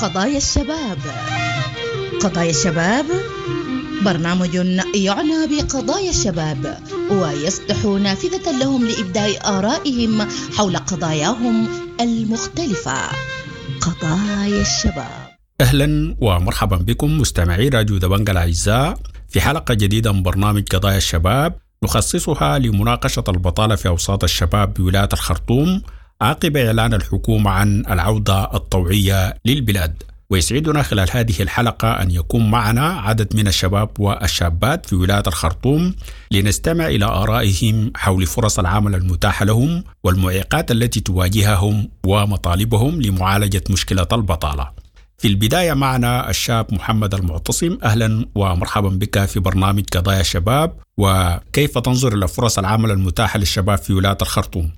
قضايا الشباب. قضايا الشباب برنامج يعنى بقضايا الشباب ويفتح نافذة لهم لإبداء آرائهم حول قضاياهم المختلفة. قضايا الشباب. أهلا ومرحبا بكم مستمعي راديو دبنجا الأعزاء في حلقة جديدة من برنامج قضايا الشباب نخصصها لمناقشة البطالة في أوساط الشباب بولاية الخرطوم عقب إعلان الحكومة عن العودة الطوعية للبلاد. ويسعدنا خلال هذه الحلقة أن يكون معنا عدد من الشباب والشابات في ولاية الخرطوم لنستمع إلى آرائهم حول فرص العمل المتاحة لهم والمعيقات التي تواجههم ومطالبهم لمعالجة مشكلة البطالة. في البداية معنا الشاب محمد المعتصم، أهلا ومرحبا بك في برنامج قضايا الشباب، وكيف تنظر إلى فرص العمل المتاحة للشباب في ولاية الخرطوم؟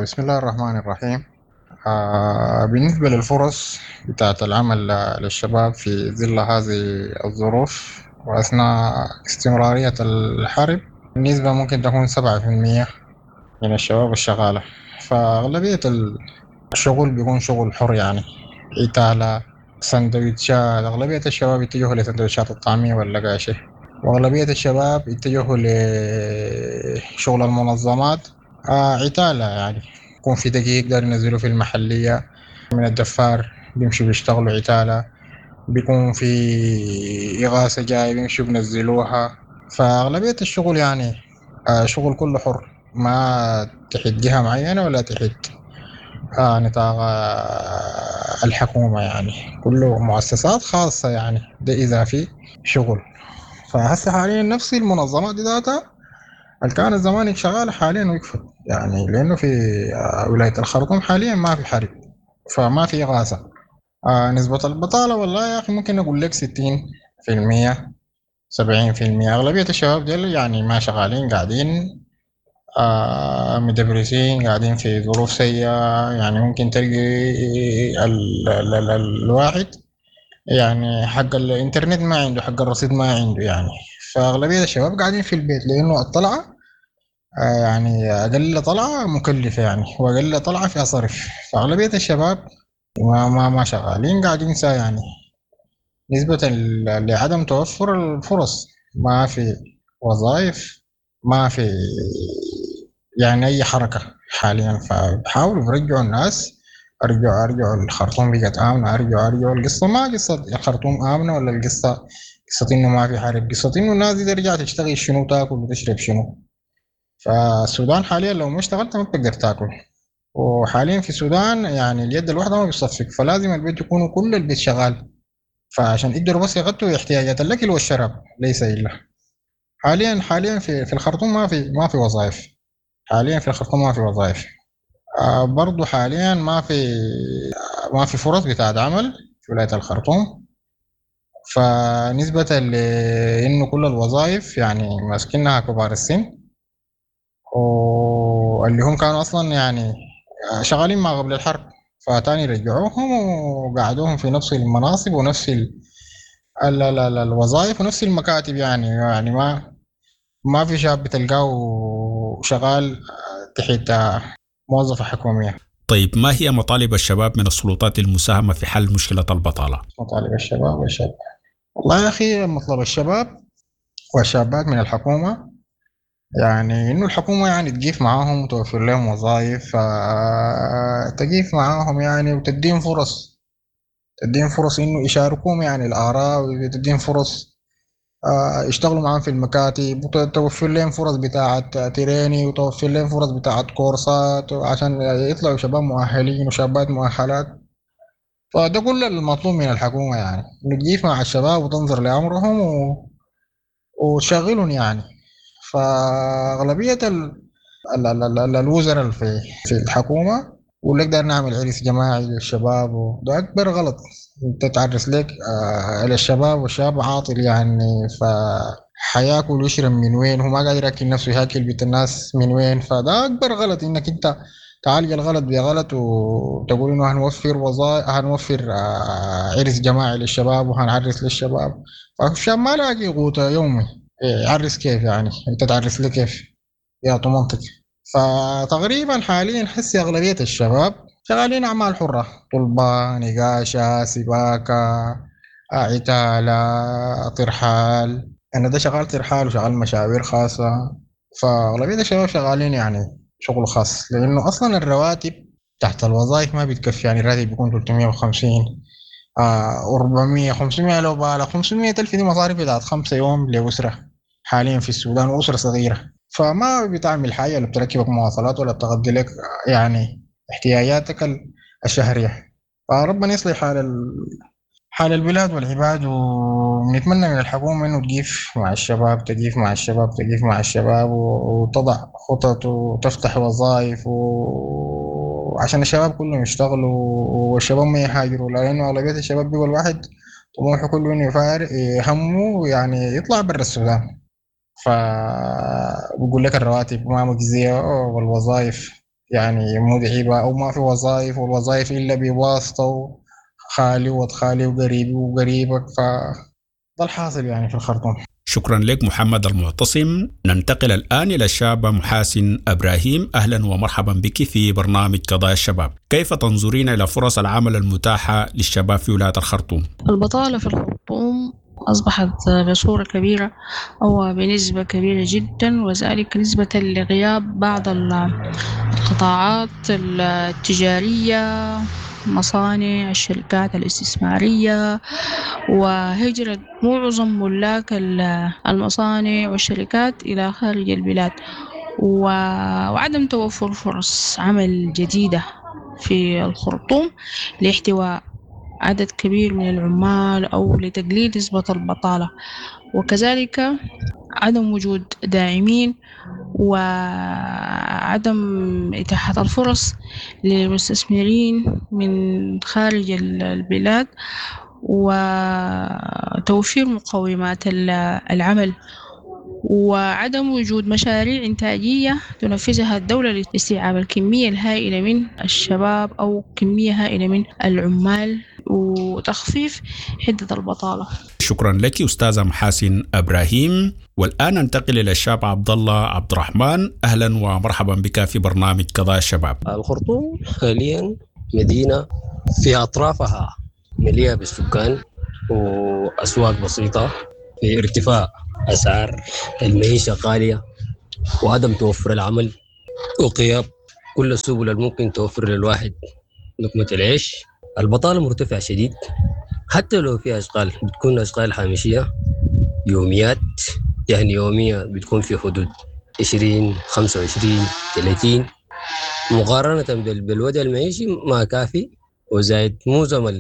بسم الله الرحمن الرحيم. بالنسبة للفرص بتاعت العمل للشباب في ظل هذه الظروف وأثناء استمرارية الحرب، النسبة ممكن تكون 7% من الشباب الشغالة، فأغلبية الشغل بيكون شغل حر، يعني عتالة، سندويتشات. أغلبية الشباب يتجهوا لسندويتشات الطعمية واللقاشة، وأغلبية الشباب يتجهوا لشغل المنظمات، عتالة، يعني يكون في دقيق دار ينزلوا في المحلية من الدفار بيمشوا بيشتغلوا عتالة، بيكون في إغاثة جاي بيمشوا بنزلوها. فأغلبية الشغل يعني شغل كله حر، ما تحت جهة معينة ولا تحت نطاق الحكومة، يعني كله مؤسسات خاصة، يعني ده إذا في شغل. فهسه حاليا نفس المنظمات دي ذاتها اللي كانت زمان شغالة حاليا وقفت، يعني لأنه في ولاية الخرطوم حاليا ما في حرب، فما في إغاثة. نسبة البطالة والله يا أخي ممكن أقول لك 60%، 70%. أغلبية الشباب ديل يعني ما شغالين، قاعدين مدبرسين، قاعدين في ظروف سيئة. يعني ممكن تلقي ال ال ال الواحد يعني حق الإنترنت ما عنده، حق الرصيد ما عنده يعني. فأغلبية الشباب قاعدين في البيت لأنه الطلعة يعني أقل طلعة مكلفة يعني، وأقل طلعة فيها صرف. فأغلبية الشباب ما ما ما شغالين، قاعدين سا يعني نسبة لعدم توفر الفرص، ما في وظائف، ما في يعني أي حركة حاليا. فبحاولوا برجعوا الناس، أرجعوا أرجعوا الخرطوم بقت آمنة، أرجعوا أرجعوا. القصة ما قصة الخرطوم آمنة ولا القصة قصة إنه ما في حرب، قصة إنه الناس دي ترجع تشتغل شنو، تاكل وتشرب شنو. فالسودان حاليا لو ما اشتغلت ما بتقدر تاكل، وحاليا في السودان يعني اليد الواحدة ما بتصفق، فلازم البيت يكون كل البيت شغال، فعشان يقدروا بس يغطوا احتياجات الأكل والشراب ليس إلا. حاليا في الخرطوم ما في وظائف، حاليا في الخرطوم ما في وظائف. برضو حاليا ما في فرص بتاعت عمل في ولاية الخرطوم، فنسبة لإنه كل الوظائف يعني ماسكينها كبار السن، واللي هم كانوا أصلا يعني شغالين ما قبل الحرب، فتاني رجعوهم وقعدوهم في نفس المناصب ونفس ال ال ال ال الوظائف ونفس المكاتب. يعني ما في شاب بتلقاه شغال تحت موظفة حكومية. طيب، ما هي مطالب الشباب من السلطات للمساهمة في حل مشكلة البطالة؟ مطالب الشباب والشابات، والله يا أخي مطلب الشباب والشابات من الحكومة يعني إنه الحكومة يعني تقيف معاهم وتوفر لهم وظائف، تقيف معاهم يعني وتديهم فرص، تديهم فرص إنه يشاركوهم يعني الآراء، وتديهم فرص يشتغلوا معاهم في المكاتب، وتوفر لهم فرص بتاعة تريني، وتوفر لهم فرص بتاعة كورسات عشان يطلعوا شباب مؤهلين وشابات مؤهلات. فده كل المطلوب من الحكومة، يعني إنه تقيف مع الشباب وتنظر لأمرهم وتشغلهم يعني. فأغلبية الوزراء في الحكومة يقول لك داير نعمل عرس جماعي للشباب، وده أكبر غلط. أنت تعرس لك للشباب والشاب عاطل يعني، فحياكل ويشرب من وين؟ هو ما قادر ياكل نفسه، ياكل بيت الناس من وين؟ فده أكبر غلط، إنك أنت تعالج الغلط بغلط وتقول إنه هنوفر وظائف، هنوفر عرس جماعي للشباب وهنعرس للشباب. فالشاب ما لاقي قوت يومي، يعرس كيف يعني؟ أنت تعرس لي كيف؟ يا منطق. فتقريبا حاليا حسي أغلبية الشباب شغالين أعمال حرة، طلبة، نقاشة، سباكة، عتالة، ترحال. أنا ده شغال ترحال وشغال مشاوير خاصة. فأغلبية الشباب شغالين يعني شغل خاص، لأنه أصلا الرواتب تحت الوظائف ما بتكفي. يعني الراتب بيكون 350، 400، 500، لو بالغ 500 ألف دي مصاريف بتاعت 5 يوم لأسرة حاليا في السودان، وأسرة صغيرة، فما بتعمل حاجة، لا بتركبك مواصلات ولا بتغطي لك يعني احتياجاتك الشهرية. فربنا يصلح حال البلاد والعباد، ونتمنى من الحكومة إنه تقيف مع الشباب، تقيف مع الشباب، تقيف مع الشباب، وتضع خطط وتفتح وظائف عشان الشباب كلهم يشتغلوا والشباب ما يهاجروا، لأنه أغلبية الشباب بيقول الواحد طموحه كله إنه يفارق همه يعني يطلع برا السودان. فبقول لك الرواتب ما مجزية والوظائف يعني مدعبة أو ما في وظائف، والوظائف إلا بواسطة خالي وخالي وقريبي وقريبك، فده الحاصل يعني في الخرطوم. شكرا لك محمد المعتصم. ننتقل الآن إلى الشابة محاسن إبراهيم. أهلا ومرحبا بك في برنامج قضايا الشباب. كيف تنظرين إلى فرص العمل المتاحة للشباب في ولاية الخرطوم؟ البطالة في الخرطوم أصبحت بصورة كبيرة أو بنسبة كبيرة جدا، وذلك نسبة لغياب بعض القطاعات التجارية، مصانع، الشركات الاستثمارية، وهجرة معظم ملاك المصانع والشركات إلى خارج البلاد، وعدم توفر فرص عمل جديدة في الخرطوم لاحتواء عدد كبير من العمال أو لتقليل نسبة البطالة، وكذلك عدم وجود داعمين وعدم إتاحة الفرص للمستثمرين من خارج البلاد وتوفير مقومات العمل، وعدم وجود مشاريع إنتاجية تنفذها الدولة لاستيعاب الكمية الهائلة من الشباب أو كمية هائلة من العمال وتخفيف حدة البطالة. شكرا لك أستاذة محاسن إبراهيم. والآن ننتقل إلى الشاب عبد الله عبد الرحمن. أهلا ومرحبا بك في برنامج قضايا الشباب. الخرطوم حاليا مدينة في أطرافها مليئة بالسكان وأسواق بسيطة، في ارتفاع أسعار المعيشة غالية وعدم توفر العمل وغياب كل السبل الممكن توفر للواحد لقمة العيش. البطالة مرتفعة شديد، حتى لو في أشغال بتكون أشغال هامشية يوميات، يعني يومية بتكون في حدود 20 25 30 مقارنة بالوضع المعيشي ما كافي. وزائد معظم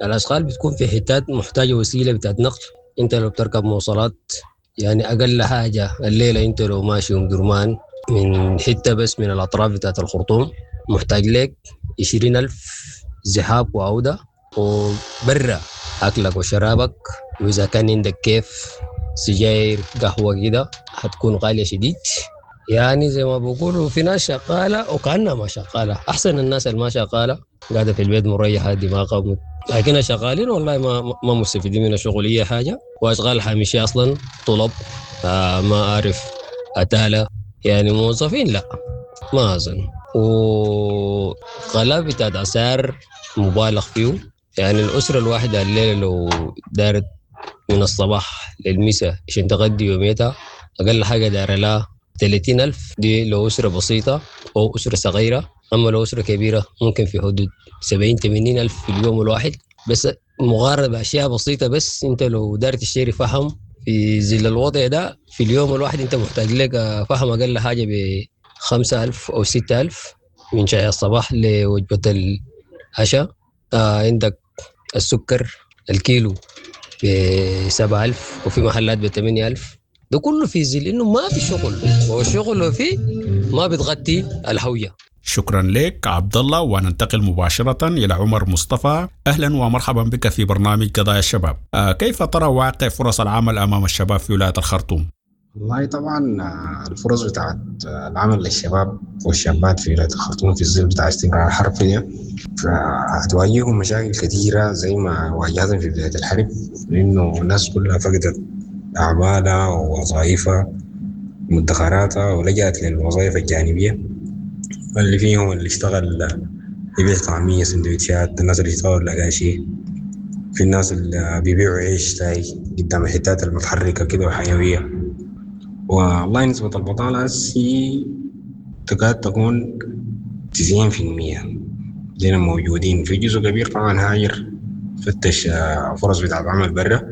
الأشغال بتكون في حتات محتاجة وسيلة بتاعت نقل. انت لو بتركب مواصلات يعني اقل حاجه الليله انت لو ماشي ام درمان من حته بس من الاطراف بتاعت الخرطوم محتاج لك 20,000 ذهاب وعوده، وبرا اكلك وشرابك، واذا كان عندك كيف سجاير قهوه كده حتكون غاليه شديد. يعني زي ما بقولوا في ناس شغاله وكانها ما شغاله، احسن الناس اللي ما شغاله قاعده في البيت مريحه دماغها، لكن شغالين والله ما مستفيدين من الشغل اي حاجه. واشغال هامشيه اصلا طلب ما اعرف اتاله، يعني موظفين لا ما اظن. وغلاء بتاع اسعار مبالغ فيه، يعني الاسره الواحده الليله لو دارت من الصباح للمساء عشان تغدي يوميتها اقل حاجه دار لها 30,000، دي لو اسره بسيطه او اسره صغيره. اما لو اسره كبيره ممكن في حدود 70 80 ألف في اليوم الواحد، بس مقارنه باشياء بسيطه. بس انت لو دار تشتري فحم في ظل الوضع ده في اليوم الواحد انت محتاج لك فحم اقل حاجه ب 5,000 او 6,000 من شاي الصباح لوجبه العشاء. عندك السكر الكيلو ب 7,000 وفي محلات ب 8,000. ده كله في ظل انه ما في شغل، والشغل لو فيه ما بتغطي الهويه. شكرا لك عبد الله. وننتقل مباشرة إلى عمر مصطفى. أهلا ومرحبا بك في برنامج قضايا الشباب. كيف ترى واقع فرص العمل أمام الشباب في ولاية الخرطوم؟ والله طبعا الفرص بتاعت العمل للشباب والشابات في ولاية الخرطوم في الظل بتاع استمرار الحرب دي فهتواجههم مشاكل كثيرة زي ما واجهتهم في بداية الحرب، لأنه الناس كلها فقدت أعمالها ووظائفها ومدخراتها ولجأت للوظائف الجانبية. اللي فيهم اللي اشتغل يبيع طعمية، سندوتشات، الناس اللي اشتغلوا الأقاشي، في الناس اللي بيبيعوا عيش تاي قدام الحتات المتحركة كده وحيوية. والله نسبة البطالة هسي تكاد تكون 90% دينا موجودين. في جزء كبير طبعا هاجر فتش فرص بتاعت عمل برا،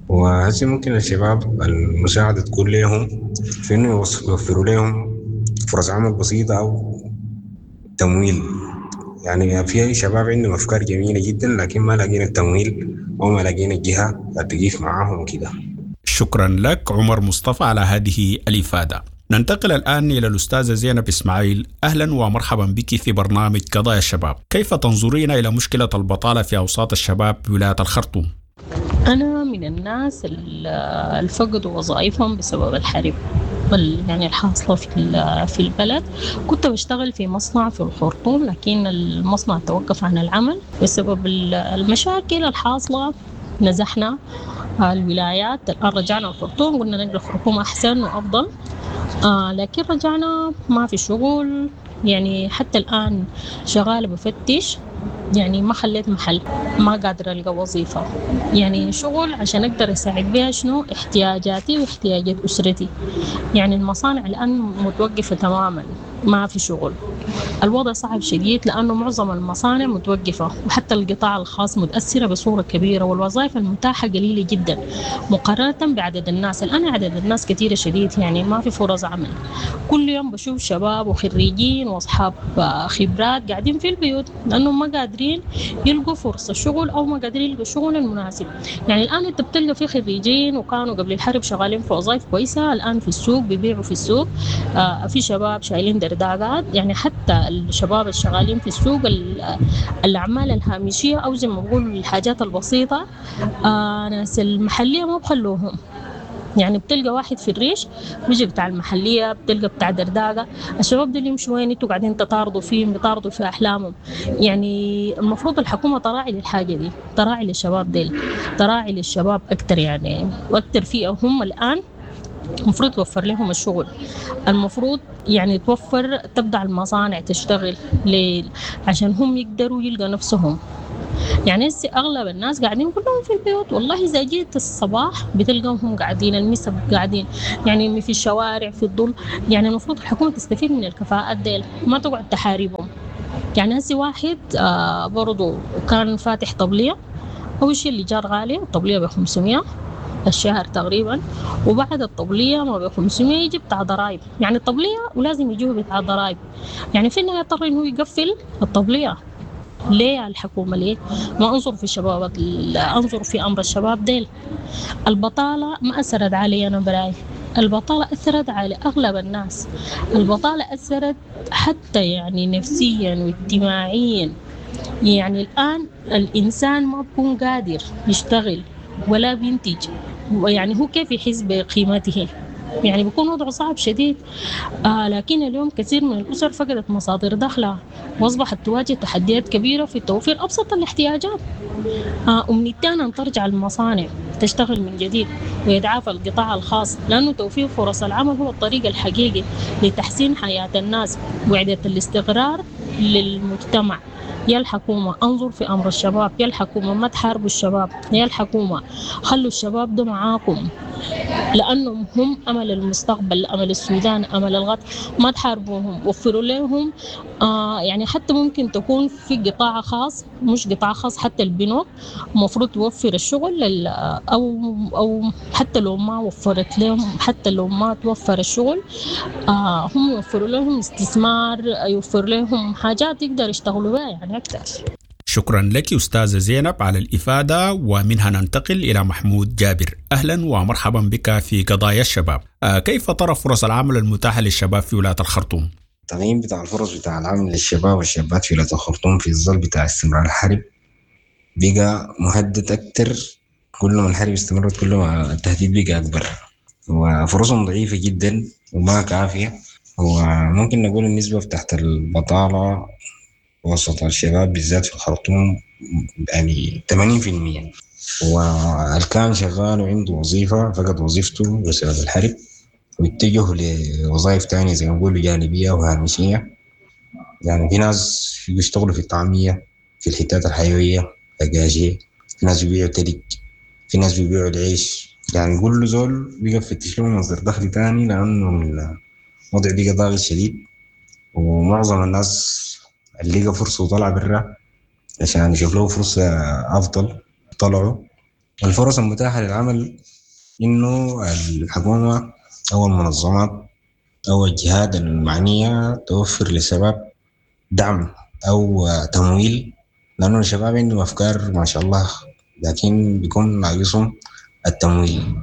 وهسي ممكن الشباب المساعدة تكون لهم في إنه يوفروا لهم فرص عمل بسيطة أو تمويل. يعني في شباب عندهم أفكار جميلة جدا لكن ما لاقين التمويل أو ما لاقين الجهة تقيف معاهم وكده. شكرا لك عمر مصطفى على هذه الإفادة. ننتقل الآن إلى الأستاذة زينب إسماعيل. أهلا ومرحبا بك في برنامج قضايا الشباب. كيف تنظرين إلى مشكلة البطالة في أوساط الشباب بولاية الخرطوم؟ أنا من الناس اللي فقدوا وظائفهم بسبب الحرب يعني الحاصلة في البلد. كنت بشتغل في مصنع في الخرطوم، لكن المصنع توقف عن العمل بسبب المشاكل الحاصلة. نزحنا الولايات، الآن رجعنا الخرطوم، قلنا نقل الخرطوم أحسن وأفضل، لكن رجعنا ما في شغل. يعني حتى الآن شغالة بفتش، يعني ما خليت محل، ما قادرة ألقى وظيفة، يعني شغل عشان أقدر أساعد بها شنو احتياجاتي واحتياجات أسرتي. يعني المصانع الآن متوقفة تماما، ما في شغل. الوضع صعب شديد لأنه معظم المصانع متوقفة، وحتى القطاع الخاص متأثرة بصورة كبيرة، والوظائف المتاحة قليلة جدا مقارنة بعدد الناس. الآن عدد الناس كثيرة شديد، يعني ما في فرص عمل. كل يوم بشوف شباب وخريجين وأصحاب خبرات قاعدين في البيوت لأنهم ما قادرين يلقوا فرصة شغل أو ما قادرين يلقوا شغل المناسب. يعني الآن أنت بتلقى في خريجين وكانوا قبل الحرب شغالين في وظائف كويسة، الآن في السوق بيبيعوا في السوق. في شباب شايلين درداقات، يعني حتى الشباب الشغالين في السوق الأعمال الهامشية أو زي ما بقولوا الحاجات البسيطة، ناس المحلية ما بخلوهم. يعني بتلقى واحد في الريش بيجي بتاع المحلية، بتلقى بتاع درداقة. الشباب دول يمشوا وين؟ انتوا قاعدين تطاردوا فيهم، بيطاردوا في أحلامهم. يعني المفروض الحكومة تراعي للحاجة دي، تراعي للشباب ديل، تراعي للشباب أكتر، يعني وأكتر فئة هم الآن المفروض توفر لهم الشغل. المفروض يعني توفر، تبدأ المصانع تشتغل عشان هم يقدروا يلقوا نفسهم. يعني هسه أغلب الناس قاعدين كلهم في البيوت. والله إذا جيت الصباح بتلقاهم قاعدين، المسا قاعدين، يعني في الشوارع في الظل. يعني المفروض الحكومة تستفيد من الكفاءات ديل، ما تقعد تحاربهم. يعني هسه واحد برضو كان فاتح طبلية، أول شيء الإيجار غالي، الطبلية ب500 الشهر تقريبا، وبعد الطبلية ما ب500 يجي بتاع ضرايب. يعني الطبلية ولازم يجوه بتاع ضرايب، يعني في النهاية اضطر إنه يقفل الطبلية. ليه الحكومة ليه ما أنظر في الشباب، أنظر في أمر الشباب ديل. البطالة ما أثرت علي أنا براي، البطالة أثرت على أغلب الناس. البطالة أثرت حتى يعني نفسيا واجتماعيا. يعني الآن الإنسان ما بيكون قادر يشتغل ولا بينتج، يعني هو كيف يحس بقيمته؟ يعني بيكون وضعه صعب شديد. لكن اليوم كثير من الأسر فقدت مصادر دخلها وأصبحت تواجه تحديات كبيرة في توفير أبسط الاحتياجات. أمنيتي أن ترجع المصانع تشتغل من جديد ويتعافى القطاع الخاص، لأنه توفير فرص العمل هو الطريق الحقيقي لتحسين حياة الناس وإعادة الاستقرار للمجتمع. يا الحكومة انظر في أمر الشباب، يا الحكومة ما تحاربوا الشباب، يا الحكومة خلوا الشباب ده معاكم لأنهم هم أمل المستقبل، أمل السودان، أمل الغد. ما تحاربوهم، وفروا لهم يعني حتى ممكن تكون في قطاع خاص، مش قطاع خاص، حتى البنوك المفروض توفر الشغل أو حتى لو ما وفرت لهم، حتى لو ما توفر الشغل هم يوفروا لهم استثمار، يوفر لهم حاجات يقدر يشتغلوا بها يعني أكثر. شكرا لك أستاذة زينب على الإفادة، ومنها ننتقل إلى محمود جابر. أهلا ومرحبا بك في قضايا الشباب. كيف ترى فرص العمل المتاحة للشباب في ولاية الخرطوم؟ التقييم بتاع الفرص بتاع العمل للشباب والشابات في ولاية الخرطوم في الظل بتاع استمرار الحرب بقى مهدد أكتر. كل ما الحرب استمرت كل ما التهديد بقى أكبر، وفرصهم ضعيفة جدا وما كافية. وممكن نقول النسبة بتاعت البطالة وسط الشباب بالذات في الخرطوم يعني 80%، والكان شغال وعنده وظيفة فقد وظيفته بسبب الحرب واتجه لوظائف تانية زي ما نقولوا جانبية وهامشية. يعني في ناس بيشتغلوا في الطعمية في الحتات الحيوية القاشية، في ناس بيبيعوا تلج، في ناس بيبيعوا العيش. يعني كل زول بقى يفتش له مصدر دخل تاني، لأنه الوضع بقى ضاغط شديد، ومعظم الناس اللي لقى فرصة وطلع برا عشان يشوف له فرصة أفضل طلعوا. الفرص المتاحة للعمل إنه الحكومة أو المنظمات أو الجهات المعنية توفر للشباب دعم أو تمويل، لأنه الشباب عندهم أفكار ما شاء الله، لكن بيكون ناقصهم التمويل،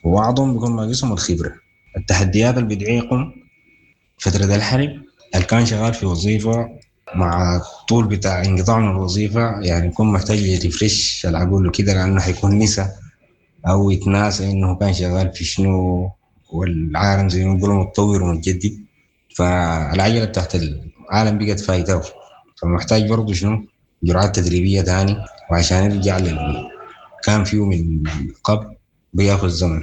وبعضهم بيكون ناقصهم الخبرة. التحديات اللي بتعيقهم فترة الحرب، اللي كان شغال في وظيفة مع طول بتاع انقطاع من الوظيفة يعني يكون محتاج يرفرش العقول وكده، لأنه حيكون نسى أو يتناسى إنه كان شغال في شنو، والعالم زي ما بيقولوا متطور ومتجدد، فالعجلة بتاعت العالم بقت فايته، فمحتاج برضه شنو جرعات تدريبية تاني، وعشان يرجع لل كان فيه من قبل بياخذ زمن.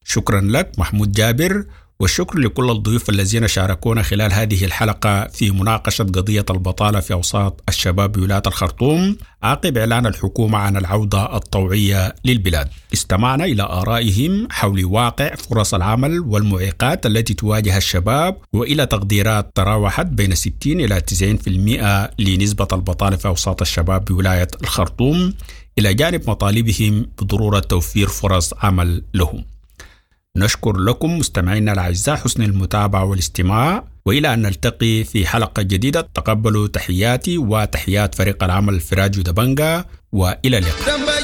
شكرا لك محمود جابر، والشكر لكل الضيوف الذين شاركونا خلال هذه الحلقة في مناقشة قضية البطالة في أوساط الشباب بولاية الخرطوم عقب إعلان الحكومة عن العودة الطوعية للبلاد. استمعنا إلى آرائهم حول واقع فرص العمل والمعيقات التي تواجه الشباب، وإلى تقديرات تراوحت بين 60 إلى 90% لنسبة البطالة في أوساط الشباب بولاية الخرطوم، إلى جانب مطالبهم بضرورة توفير فرص عمل لهم. نشكر لكم مستمعينا الأعزاء حسن المتابعة والاستماع، وإلى أن نلتقي في حلقة جديدة تقبلوا تحياتي وتحيات فريق العمل في راديو دبنجا، وإلى اللقاء.